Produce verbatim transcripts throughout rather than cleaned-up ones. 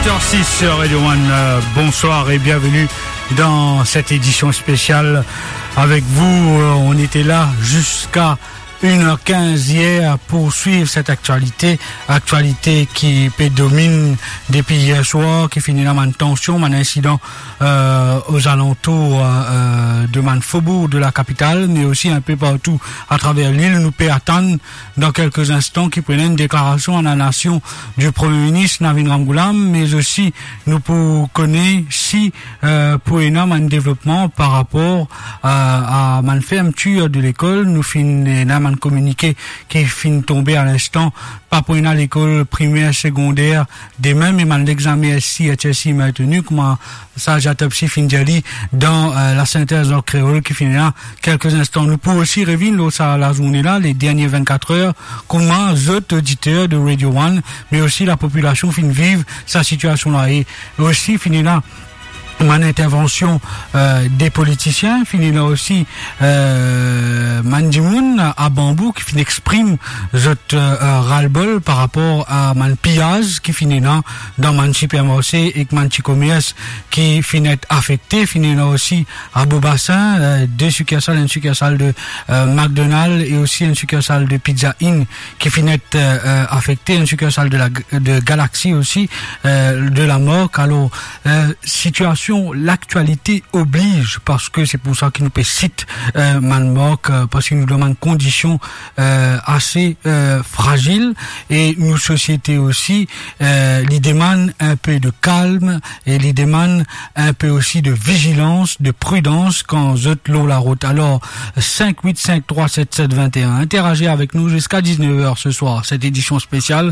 Six sur Radio One, euh, bonsoir et bienvenue dans cette édition spéciale avec vous. Euh, on était là jusqu'à une heure quinze hier pour suivre cette actualité, actualité ki pe domine depi yer swar, ki fini ena bann tansion, bann insidan, euh, aux alentours, euh, euh, de bann fobour de la capitale, mais aussi un peu partout à travers l'île. Nou pe atann dan kelke instan ki pou ena enn deklarasion a la nasion du Premier ministre Navin Ramgoolam, mais aussi nou pou kone si, euh, pou ena bann devlopman par rapor a, a bann fermetir de lekol. Nou finn ena bann kominike ki finn tonbe a linstan, pa pou ena lekol primer, segonder demin, me bann lexame S C, H S C maintenu, kouma sa Jatopsi finn dir li dan, euh, la sintez an kreol ki finn ena kelke instan. Nou pou osi revinn lor sa lazourne la, les dernières vingt-quatre heures, kouma zot oditer de Radio One, me osi lapopilasion finn viv sa sitiasion la. E osi finn ena bann intervansion, euh, de politisien, finn ena osi, euh, bann dimoun a Banbou ki finn exprim zot, euh, euh, ras-le-bol par rapor a bann piyaz ki finn ena dan bann sipermarse ek bann ti komers ki finn et afekte. Finn ena osi a Beau-Bassin, euh, de sikersal, enn sikersal de, euh, McDonald's e osi enn sikersal de Pizza Inn ki finn et, euh, euh, afekte, enn sikersal de la, de Galaxy osi, euh, de la Mork. Alor, euh, sitiasion, laktialite obliz, parski se pou sa ki nou pe sit, euh, bann mark, euh, parski nou dan bann kondision, euh, ase, euh, frazil, e nou sosiete osi, euh, li demann enpe de kalm e li demann enpe osi de vizilans, de pridans kan zot lor larout. Alor, cinq huit cinq trois sept sept vingt et un. Interagir avec nous jusqu'à dix-neuf heures ce soir. Cette édition spéciale,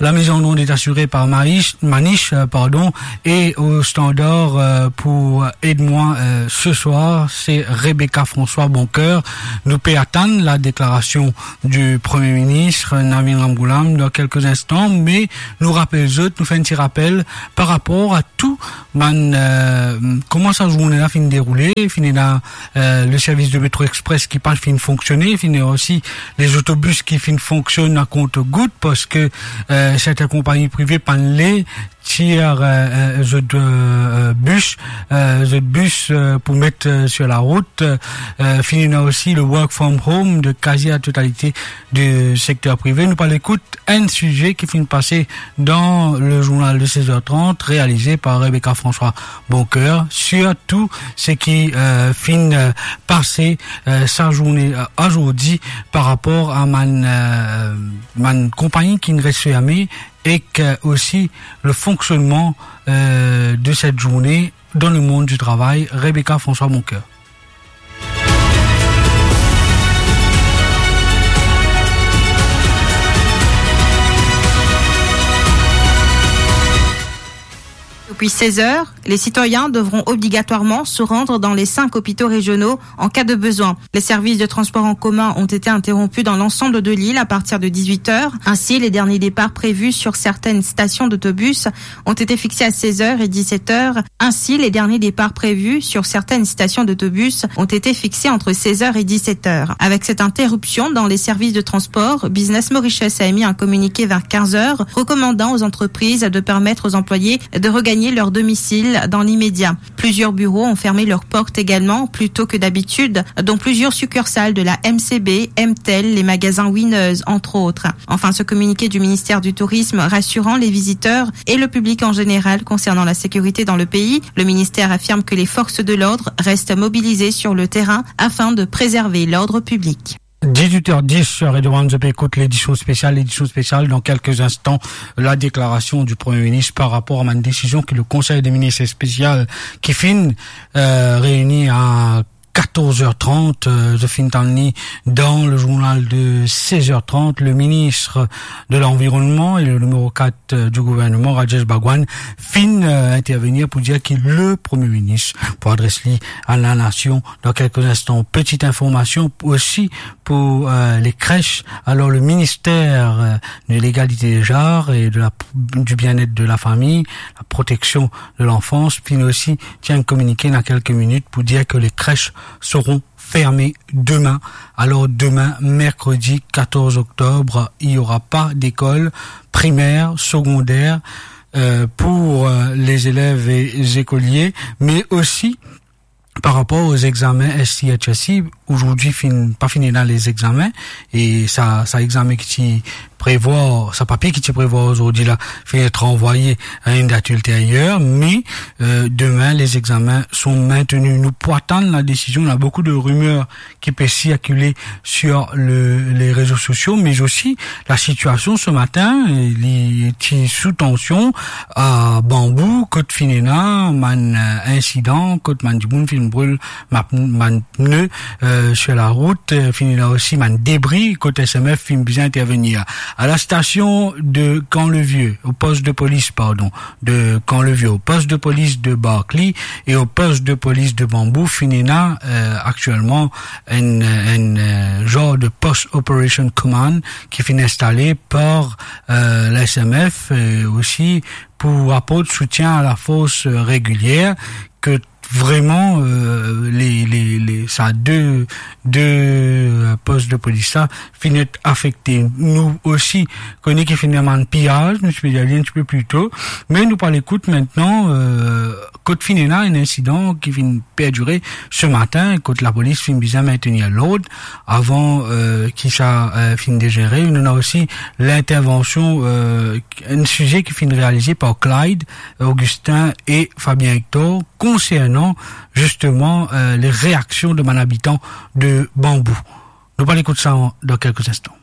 la mise en onde est assurée par Maïs, Manish, euh, pardon, et au standard, euh, pour Aide-moi, euh, ce soir, c'est Rebecca François Boncoeur. Nou pe atann la déclaration du Premier ministre Navin Ramgoolam dans quelques instants, mais nou rapel zot, nou fer enn ti rapel par rapor a tou bann, euh, kouma sa zourne la finn deroule, finn ena, euh, le service de métro express ki pa finn fonksione, finn ena osi les autobus ki finn fonksionn a kont-gout, parski, euh, sertin konpagni prive pa'nn le tir, euh, euh, zot, euh, euh, bis, euh, zot bis, euh, pou met, euh, sur la rout. Euh, finn ena osi le work from home de kazi la totalite du secteur privé. Nou pou al ekout enn size ki finn pase dan le journal de seize heures trente, réalisé par Rebecca François Boncoeur, sur tou seki, euh, finn, euh, pase, euh, sa zourne, euh, azordi par rapor a bann, euh, bann konpagni ki res ferme ek, euh, osi le fonctionnement, euh, de cette journée dans le monde du travail. Rebecca François Boncoeur. Depuis seize heures, les citoyens devront obligatoirement se rendre dans les cinq hôpitaux régionaux en cas de besoin. Les services de transport en commun ont été interrompus dans l'ensemble de l'île à partir de dix-huit heures. Ainsi, les derniers départs prévus sur certaines stations d'autobus ont été fixés à seize heures et dix-sept heures. Ainsi, les derniers départs prévus sur certaines stations d'autobus ont été fixés entre seize heures et dix-sept heures. Avec cette interruption dans les services de transport, Business Mauritius a émis un communiqué vers quinze heures, recommandant aux entreprises de permettre aux employés de regagner leur domicile dans l'immédiat. Plusieurs bureaux ont fermé leurs portes également, plus tôt que d'habitude, dont plusieurs succursales de la M C B, M Tel, les magasins Winners, entre autres. Enfin, ce communiqué du ministère du Tourisme rassurant les visiteurs et le public en général concernant la sécurité dans le pays. Le ministère affirme que les forces de l'ordre restent mobilisées sur le terrain afin de préserver l'ordre public. Dix-huit heures dix sur Radio One, zot pe ekout l'édition spéciale. L'édition spéciale, dans quelques instants, la déclaration du Premier ministre par rapport à une décision que le Conseil des ministres spécial ki finn, euh, réuni à quatorze heures trente, euh, zot finn tann li dans le journal de seize heures trente, le ministre de l'Environnement et le numéro quatre, euh, du gouvernement, Rajesh Bhagwan, finn, euh, intervenir pou dir ki le Premier ministre pou adres li à la nation dans quelques instants. Petite information aussi pour, euh, les crèches. Alors, le ministère, euh, de l'égalité des genres et de la, du bien-être de la famille, la protection de l'enfance, finn osi tir enn kominike dan kelke minit pou dir ke les crèches seront fermées demain. Alors demain, mercredi quatorze octobre, il y aura pas d'école primaire, secondaire, euh, pour, euh, les élèves et les écoliers, mais aussi par rapport aux examens S T H S C, aujourd'hui, fin, pa fini ena les examens, e sa, sa examen ki ti prevwar, sa papie ki ti prevwar zordi la, fini ranvwaye a une date ultérieure, mais, euh, demain, les examens sont maintenus. Nou pou atann la décision, il y a beaucoup de rumeurs ki pe sirkile sur le, les réseaux sociaux, mais aussi la situation ce matin, euh, li ti sou tansion a Bambou, kot finn ena bann, euh, insidan, kot bann dimoun finn bril ma-, bann pne, euh, sur la route, euh, finn ena osi bann debri, kot S M F finn bizin intervenir. À la station de Camp-le-Vieux, au poste de police, pardon, de Camp-le-Vieux, au poste de police de Barclay et au poste de police de Bambou, finn ena, euh, actuellement un, un, euh, genre de Post Operation Command ki finn instale par, euh, la S M F, euh, aussi pour apporter soutien à la force, euh, régulière, que vraiment, euh, les, les, les, sa deux, deux, euh, postes de police la finn et afekte. Nou osi kone ki finn ena bann piyaz, nou ti pe dir li un petit peu plus tôt, mais nou pou al ekout aster, euh, kot finn ena un incident ki finn perdire ce matin, kot lapolis finn bizin maintenir l'ordre avant, euh, ki sa, euh, finn dégénéré. Nou ena osi l'intervention, euh, un sujet ki finn réalisé par Clyde, Augustin et Fabien Hector concernant justement, euh, les réactions de bann abitan de Bambou. Nou pou al ekout sa dans quelques instants.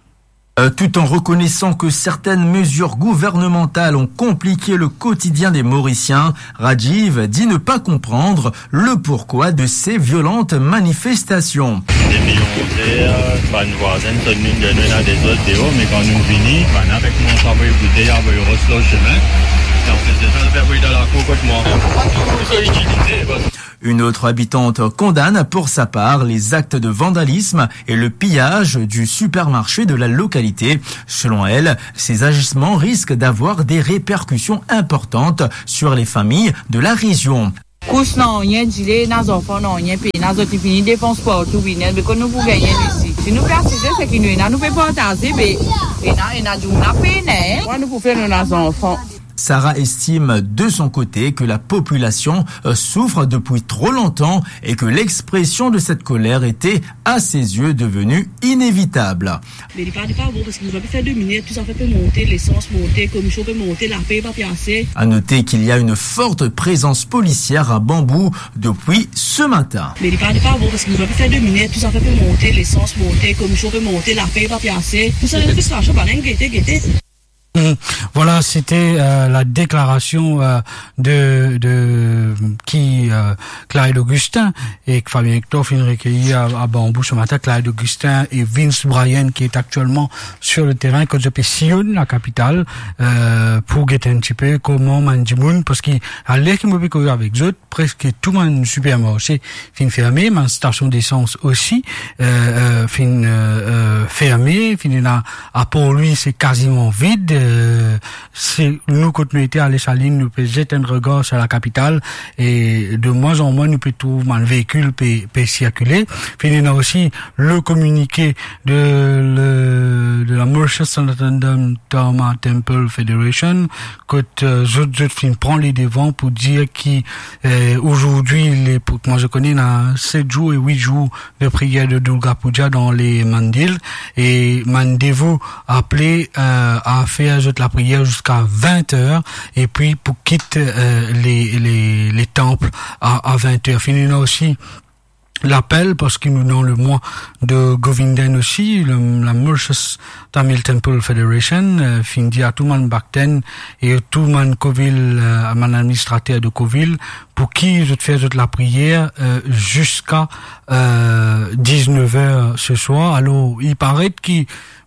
Euh, tout en reconnaissant que certaines mesures gouvernementales ont compliqué le quotidien des Mauriciens, Rajiv dit ne pas comprendre le pourquoi de ces violentes manifestations. Depi onz er, bann vwazin, zot vinn, nou ena dezord deor, me kan nou vini, bann avek mwa, sa voye boude, sa voye ros lor sime. E anplis de sa, zot pe voye dan lakour kot mwa. Pou sa itilize, bas. Une autre habitante condamne pour sa part les actes de vandalisme et le pillage du supermarché de la localité. Selon elle, ces agissements risquent d'avoir des répercussions importantes sur les familles de la région. Kous nanye, dile ena zanfan nanye, pena zot, li fini defans partou, vini, be kot nou pou gagne isi? Si nou pe asize, seki nou ena, nou pe partaze, be ena, ena dimoun la pena, hein? Kouma nou pou fer, nou ena zanfan. Sarah estime de son côté que la population, euh, souffre depuis trop longtemps et que l'expression de cette colère était, à ses yeux, devenue inévitable. Me li pa, li pa bon, parski nou pa pe fer de miner, tou zafer pe monte, lesans monte, komision pe monte, lape pa pe ase. À noter qu'il y a une forte présence policière à Bambou depuis ce matin. Me li pa, li pa bon, parski nou pa pe fer de miner, tou zafer pe monte, lesans monte, komision pe monte, lape pa pe ase. Tou sa, ena fristrasion, bann inn gete, gete. Hmm. Voilà, c'était, euh, la déclaration, euh, de, de, ki, euh, Clyde Augustin, e ki Fabien Hector finn rekeyi a, a Bambou ce matin. Clyde Augustin et Vince Bryan, qui est actuellement sur le terrain, kot zot pe siy lakapitale, euh, pou gete un petit peu kouma bann dimoun, parski aler ki mo pe koz avek zot, preske tou bann sipermarse finn ferme, bann stasion desans osi, euh, euh, finn, euh, euh, ferme, finn ena, apar li, se kaziman vid, euh, se nou kot nou ete a Desalin, nou pe zet enn regar sir lakapitale, e de moins en moins nou pe trouv bann veikil pe, pe sirkile. Finn ena osi le communiqué de, le, de la Mauritius Sanitarium Trauma Temple Federation, kot, euh, zot, zot finn pran ledevan pou dir ki, euh, aujourd'hui, les, pou, kouma zot kone, ena set zour e wit zour de priyer de Durga Puja dan le mandir, e bann devo apele, euh, a fer zot lapriyer ziska vin er, epi pou kit, euh, le, le, le tanp a, a vin er. Finn ena osi lapel, parski nou dan le mwa de Govindan osi, le, la Mauritius Tamil Temple Federation, euh, finn dir a tou bann bakten e tou bann kovil, euh, bann administrater de kovil, pou ki zot fer zot lapriyer, euh, ziska, euh, diznef er se swar. Alor, i paret ki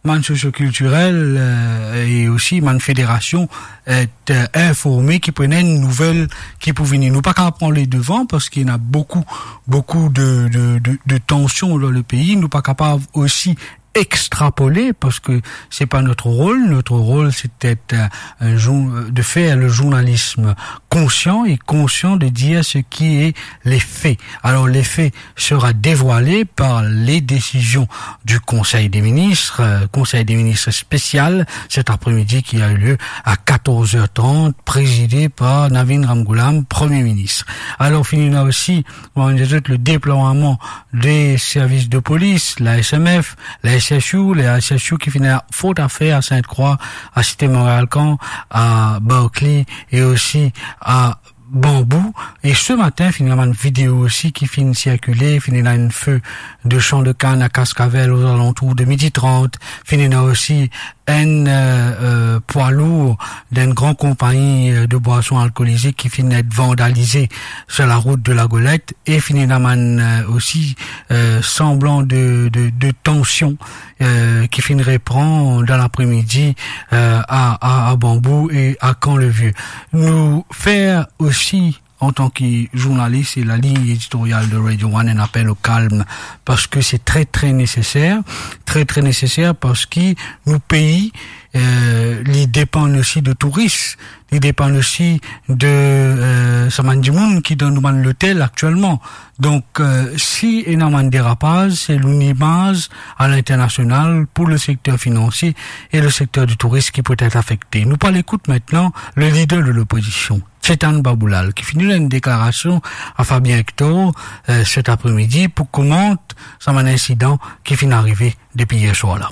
bann socio-kiltirel, euh, e osi bann federasion, euh, informe ki pou ena enn nouvel ki pou vini. Nou pa kapav pran ledevan parski ena boukou, boukou de, de, de, de tansion dan le pei. Nou pa kapav osi extrapoler, parce que c'est pas notre rôle. Notre rôle, c'est d'être, euh, un jour, de faire le journalisme conscient et conscient de dire ce qui est les faits. Alors, les faits sera dévoilé par les décisions du Conseil des ministres, euh, Conseil des ministres spécial cet après-midi qui a eu lieu à quatorze heures trente, présidé par Navin Ramgoolam, Premier ministre. Alors, fini ena aussi, on a dit, le déploiement des services de police, la S M F, la S S U, la S S U ki finn fer fort zafer à Sainte-Croix, à Cité Montréal Camp, à Berkeley et aussi à Bambou. Et ce matin, finn ena bann video aussi ki finn sirkile, finn ena enn feu de champ de canne à Cascavelle aux alentours de midi trente, finn ena aussi enn, euh, euh, poids lourd d'une grande compagnie, euh, de boissons alcoolisées qui finit d'être vandalisée sur la route de la Golette et finn ena bann, euh, aussi, euh, semblant de, de, de tension, euh, ki finn repran dans l'après-midi, euh, à, à, à Bambou et à Camp-le-Vieux. Nou fer aussi, en tant que journaliste, et la ligne éditoriale de Radio One, un appel au calme, parce que c'est très, très nécessaire, très, très nécessaire, parce que nou pei, euh, li depann aussi de touris, li depann aussi de, euh, sa bann dimoun ki dan nou bann lotel aktielman. Donk, euh, si ena bann derapaz, se nou limaz à l'international pour le secteur financier et le secteur du tourisme qui peut être affecté. Nou pou al ekout aster le leader de l'opposition, Chetan Baboulal, ki finn donn enn deklarasion à Fabien Hector, euh, cet après-midi pou komant sa bann insidan ki finn arive depi yer swar la.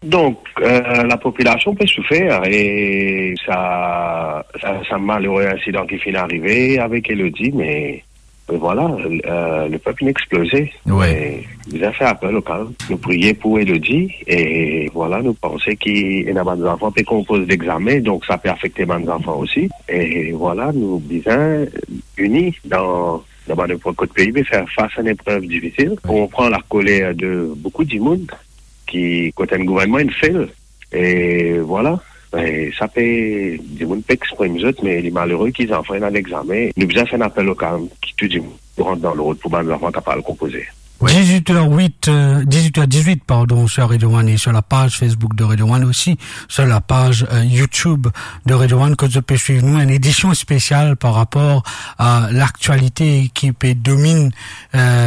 Donk, euh, lapopilasion pe soufer e sa, sa, sa malere insidan ki finn arive avek Elodie, me, me vwala, euh, lepep inn exploze. Wi. Me nou fer apel o kalm. Nou priye pou Elodie e vwala, nou panse ki ena bann zanfan pe konpoz lexame, donk sa pe afekte bann zanfan osi. E vwala, nou bizin ini dan, dan bann epok kot pei pe fer fas a enn eprev difisil. Wi. Konpran lakoler de boukou dimoun ki, kot enn gouvernman inn fail. E vwala, e sa pe, dimoun pe exprim zot, me li malere ki zanfan ena lexame. Nou bizin fer enn apel o kalm, ki tou dimoun rant dan lord pou bann zanfan kapav al konpoze. Wi. Dix-huit heures huit, euh, dix-huit heures dix-huit, pardon, sur Radio One et sur la page Facebook de Radio One aussi, sur la page, euh, YouTube de Radio One, kot zot pe swiv nou, enn edision spesial par rapor a laktialite ki pe domine, euh,